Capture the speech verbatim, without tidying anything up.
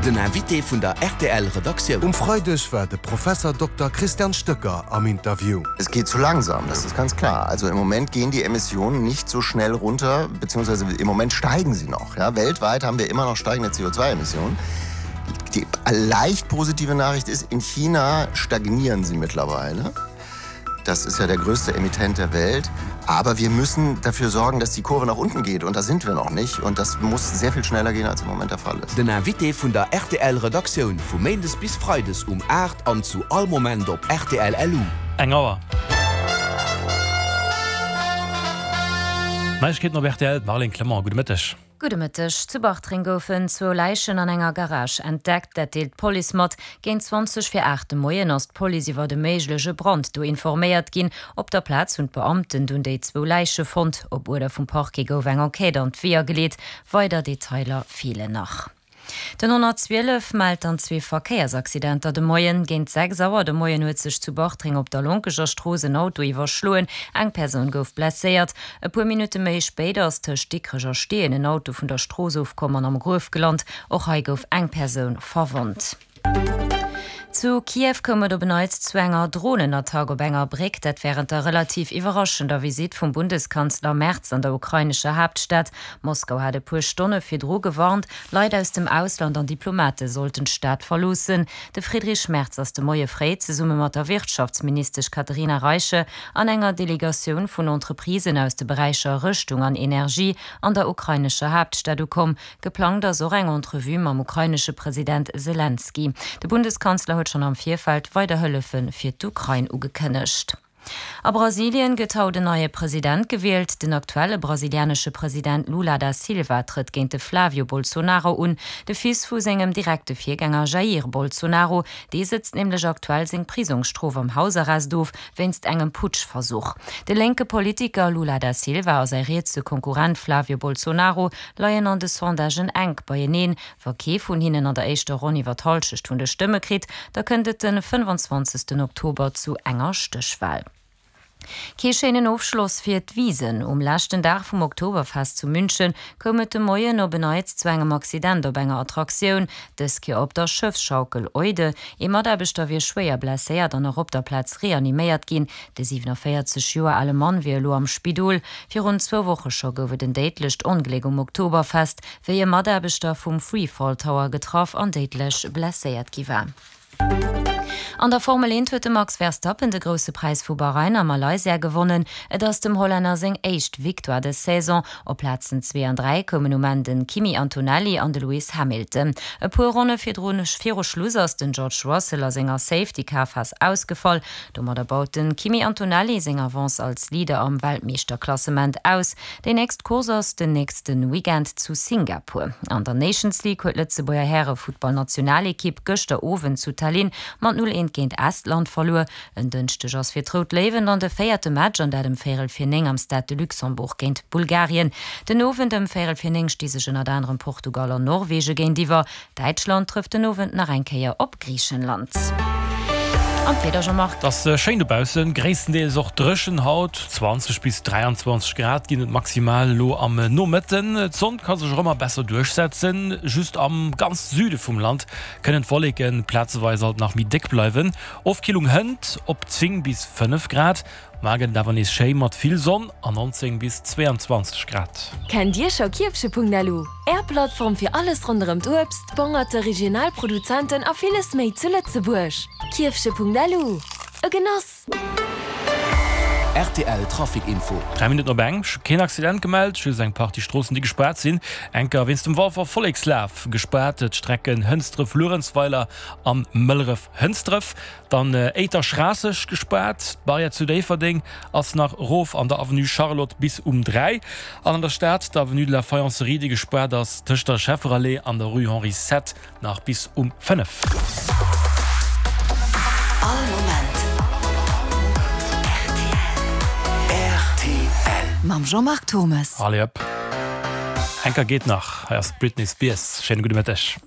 Den Invité vun der rtl Redaktioun. Um Freideg war de Professor Dokter Christian Stöcker am Interview. Es geht zu langsam, das ist ganz klar. Also im Moment gehen die Emissionen nicht so schnell runter, beziehungsweise im Moment steigen sie noch. Ja, weltweit haben wir immer noch steigende C O zwei Emissionen. Die leicht positive Nachricht ist, in China stagnieren sie mittlerweile. Das ist ja der größte Emittent der Welt. Aber wir müssen dafür sorgen, dass die Kurve nach unten geht. Und da sind wir noch nicht. Und das muss sehr viel schneller gehen, als im Moment der Fall ist. Den Invité vun der R T L-Redaktioun vu Méindes bis Freides um acht an zu all Moment op R T L L U. Eng Auer. Neiegkeeten op R T L, Marlene Clement, gute Mittag. Gute Mittag. Zu Bartreng goufen zwou Leichen an enger Garage entdeckt, dat deelt d'Police mat. Géint zwanzeg vir acht de Moien ass d'Police iwwer de méigleche Brand do informéiert ginn. Op der Plaz hunn d'Beamten dunn déi zwou Leiche fonnt. Op Uerder vum Parquet gouf eng Enquête an d'Weeër geleet. Weider Detailer feelen nach. Den honnertzwielef mellt an zwee Verkéiersaccidenter de Moien. Géint sechs Auer de Moien huet sech zu Bartreng op der Lonkeger Strooss en Auto iwwerschloen. Eng Persoun gouf blesséiert. E puer Minutte méi spéider ass tëscht Dikrech a Steen en Auto vun der Strooss ofkomm an am Gruef gelant. Och hei gouf eng Persoun verwonnt. Zu Kiew koum et op en Neits zu enger Drohnenattack op enger Bréck, dat während der relativ iwwerraschender Visitt vum Bundeskanzler Merz an der ukrainescher Hauptstadt. Moskau hat e puer Stonne virdru gewarnt, Leit aus dem Ausland an Diplomate sollten d'Stad verloossen. De Friedrich Merz ass de Moie fréi zesumme mat der Wirtschaftsministesch Katharina Reiche an enger Delegatioun vun Entreprisen aus de Beräicher Rüstung an Energie an der ukrainescher Hauptstadt ukomm. Geplant ass och eng Entrevue mam ukrainesche President Zelensky. De Bundeskanzler huet schon am Virfeld weider Hëllefe fir d'Ukrain ugekënnegt. A Brasilien gëtt haut en neie President gewielt. Den aktuelle brasilianesche President Lula da Silva trëtt géint de Flavio Bolsonaro un, de Fils vu sengem direkte Virgänger Jair Bolsonaro. Dee sëtzt nämlech aktuell seng Prisongsstrof am Hausarrest of, wéinst engem Putschversuch. De linke Politiker Lula da Silva a säi rietse Konkurrent Flavio Bolsonaro leien an de Sondagen enk beieneen. Wa kee vun hinnen an der éischter Ronn iwwer d'Hallschecht vun de Stëmme kritt, da kënnt et den fënnefanzwanzegsten Oktober zu enger Stéchwal. Kee schéinen Ofschloss fir d'Wiesen. Um leschten Dag vum Oktoberfest zu München koum et de Moien op en Neits zu engem Accident op enger Attraktioun. Dës Kéier op der Schëffsschaukel Eude. Ee Mataarbechter wier schwéier blesséiert an och op der Plaz reaniméiert ginn. De siewenundvierzeg Joer ale Mann wier elo am Spidol. Virun zwou Woche scho gouf et en déidlecht Ongléck um Oktoberfest, wéi e Mataarbechter vum Freefall Tower getraff an déidlech blesséiert gi war. An der Formel eent huet de Max Verstappen de grousse Preis vu Bahrain a Malaysia gewonnen. Et ass dem Hollänner seng éischt Victoire des Saison. Op Plazen zwee an dräi koumen um Enn den Kimi Antonelli an de Lewis Hamilton. E puer Ronne virdrun viru Schluss ass den George Russell a senger Safety-Car-Phas ausgefall. Domadder baut den Kimi Antonelli seng Avance als Leader am Weltmeeschterklassement aus. Déi nächst Course ass den nächsten Weekend zu Singapur. An der Nations League huet d'Lëtzebuerger Härefuttballnationalekipp gëschter Owend zu Tallinn mat null eent géint Estland verluer. En Dënschdeg ass fir d'Rout Léiwen an de véierte Match an dat ëm véierel vir néng am Stade de Luxembourg géint Bulgarien. Den Owend ëm véierel vir néng sti sech ënnert anerem Portugal an Norwege géintiwwer. Däitschland trëfft den Owend nach eng Kéier op Griichenland. An d'Wieder, Jean-Marc. Et ass schéin dobaussen, gréisstendeels och dréchen haut. zwanzeg bis dräianzwanzeg Grad ginn et maximal elo am Nomëtten. D'Sonn ka sech och ëmmer besser duerchsetzen. Just am ganz Süde vum Land kënnen d'Wolleke plazeweis alt nach méi déck bleiwen. Ofkillung hënt op zéng bis fënnef Grad. Mar gëtt et awer nees schéi mat vill Sonn an nonzéng bis zweeanzwanzeg Grad. Kennt Dir scho Kierfche punkt L U? Är Plattform fir alles ronderëm d'Uebst, d'Bongerte, regional Produzenten a villes méi zu Lëtzebuerg. Kierfche punkt L U, e Genoss! R T L Trafic Info. Dräi Minutten op eng, keen Accident gemellt, just eng Partie Stroossen déi gespaart sinn. Enker wéinst dem Walfer Vollekslaf gespaart, d'Strecken Hënsdref-Luerenzweiler an Mëlleref-Hënsdref. Dann Éiter-Schraasseg gespaart, d'Barrière zu Déifferdeng ass nach erof an der Avenue Charlotte bis um dräi. An an der Stad d'Avenue de la Faïencerie, déi gespaart ass tëscht der Schefferallée an der Rue Henri sept nach bis um fënnef. All Moment R T L. Mam Jean-Marc Thommes. Allez hop. Enker geet nach. Hei ass d'Britney Spears. Schéine gudde Mëtteg.